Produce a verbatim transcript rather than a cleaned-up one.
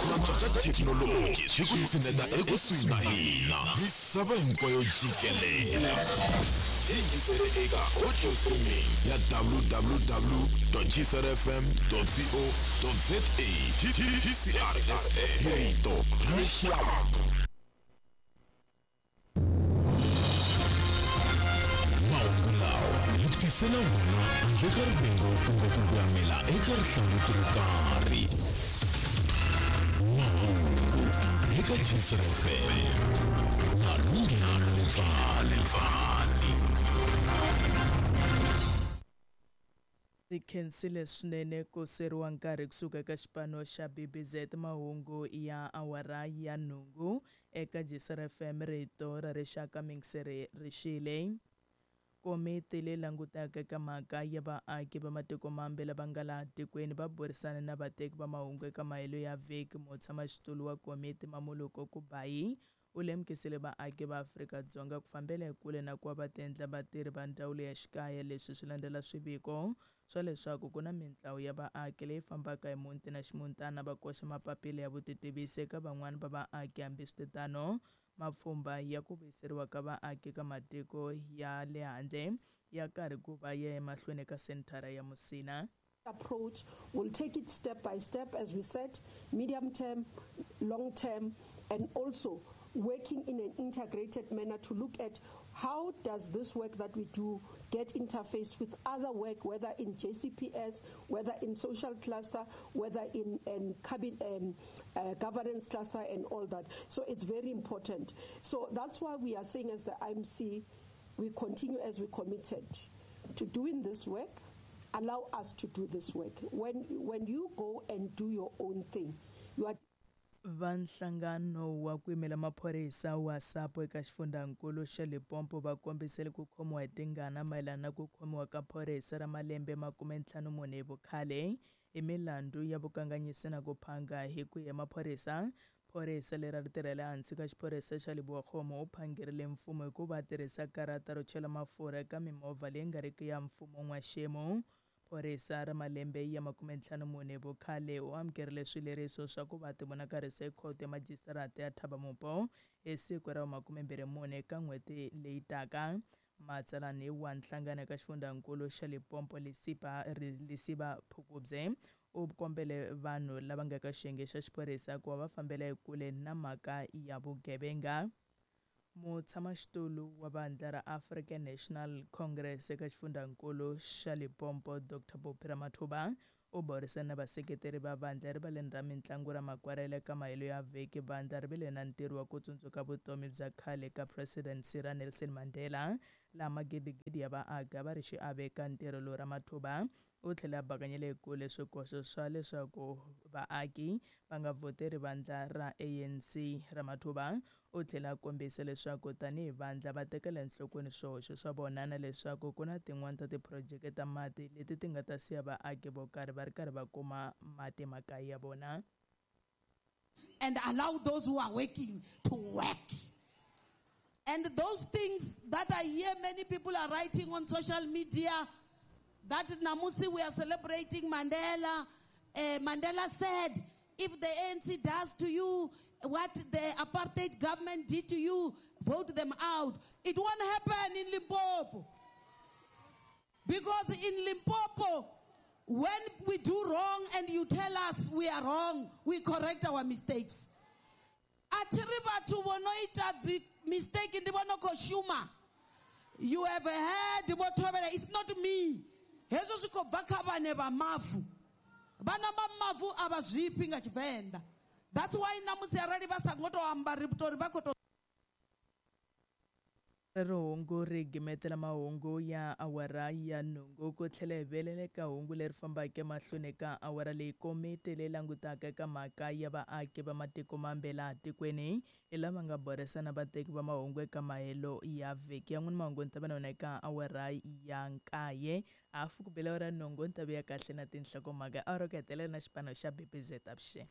Ku cinca ka thekinoloji swi ku tshineta ekusuhi na hina misava hinkwayo jikelele. Yingisele eka audio streaming ya w w w g c r f m co za. G C R F M, rito ra rixaka. Mahungu lawa hi ku tisela wona handle ka rivengo kumbe ku voyamela eka rihlanguti ro karhi. Mahungu eka G C R F M na Lunghelo Letsale Pfani. Ndzi khensile swinene ku seriwa nkarhi kusuka eka xipano xa B B Z. Mahungu ya awara ya nhungu eka G C R F M, rito ra rixaka. Mingiseri rixile. Komiti leyi langutaka eka mhaka ya vaaki va matiko mambe lava nga laha tikweni va burisana na vateki va mahungu eka mahelo ya vhiki. Mutshamaxitulu wa komiti, Mamoloko Kubayi, u lemukisile vaaki va Afrika-Dzonga ku fambela ekule na ku va va tiendla vatirhi va ndzawulo ya xikaya. Leswi swi landzela swiviko swa leswaku ku na mintlawa ya vaaki leyi fambaka hi muti na ximutana va koxa mapapila ya vutitivisi eka van'wani va vaaki. Hambiswiritano, mapfhumba ya ku vuyiseriwa ka vaaki ka matiko ya le handle ya karhi ku va ya emahlweni eka senthara ya Musina. Approach. We'll take it step by step, as we said, medium term, long term, and also working in an integrated manner to look at how does this work that we do get interface with other work, whether in J C P S, whether in social cluster, whether in, in cabin, um, uh, governance cluster and all that. So it's very important. So that's why we are saying as the I M C, we continue as we committed to doing this work. Allow us to do this work. When, when you go and do your own thing, you are Va nhlangano wa ku yimela maphorisa wa SAPO eka xifundzankulu xa Limpopo va kombisile ku khomiwa hi tingana mayelana na ku khomiwa ka phorisa ra malembe makume ntlhanu mune hi vukhale hi milandzu ya vukanganyisi na ku phanga. Hi ku ya maphorisa, phorisa leri a ri tirhela ehansi ka xiphorisa xa Lebowakgomo u phangerile mfumo hi ku va tirhisa karata ro chela mafurha eka mimovha leyi nga riki ya mfumo n'waxemu. Phorisa ra malembe ya makume ntlhanu mune hi vukhale u amukerile swileriso swa ku va tivonakarisa ekhoto ya majistarata ya Thaba-Mupo hi siku ra makumembirhi mune eka n'hweti leyi taka. Matsalani wa nhlangano eka xifundzankulu xa Limpopo, Lesiba Lesiba Phukubye, u kombele vanhu lava nga ka xiyenge xa xiphorisa ku va va fambela ekule na mhaka ya vugevenga. Mutshamaxitulu wa vandla ra African National Congress eka xifundzankulu xa Limpopo, Doctor Phophi Ramathuba, u burisana na vaseketeri va vandla erivaleni ra mitlangu ra Makwarela eka mahelo ya vhiki. Vandla ri vile na ntirho wa ku tsundzuka vutomi bya khale ka President Sir Nelson Mandela, laha magidigidi ya vaaki a va ri xiave eka ntirho lowu. Ramathuba u tlhela a bakanyela ekule swikoxo swa leswaku vaaki va nga vhoteri vandla ra A N C. Ramathuba u tlhela a kombisa leswaku tanihi vandla va tekela enhlokweni swihoxo swa vona na leswaku ku na tin'wani ta tiphurojeke ta mati leti ti nga ta siya vaaki vo karhi va ri karhi va kuma mati makaya ya vona. And allow those who are working to work. And those things that I hear many people are writing on social media that Namusi, we are celebrating Mandela. Uh, Mandela said, if the A N C does to you what the apartheid government did to you, vote them out. It won't happen in Limpopo. Because in Limpopo, when we do wrong and you tell us we are wrong, we correct our mistakes. A thi ri vhathu vho no ita dzi mistake ndi vho no khou shuma. You have heard vho Thovhela, it's not me. Hezwo zwi khou bva kha vhane vha mavu. Vhana vha mavu a vha zwifhi nga Tshivenḓa. That's why namusi arali vha sa ngo to amba ri tori vha khou to Rero hungu ri gimetela mahungu ya awara ya nhungu. Ku tlhela hi velela eka hungu leri fambaka emahlweni ka awara leyi, komiti leyi langutaka eka mhaka ya vaaki va matiko mambe laha tikweni hi lava nga burisana vateki va mahungu eka mahelo ya vhiki ya n'wini. Mahungu ni ta va na wona eka awara ya nkaye hafu ku bela awara nhungu. Ni ta vuya kahle na tinhlokomhaka awara ku hetelela na xipano xa B B Z. Avuxeni.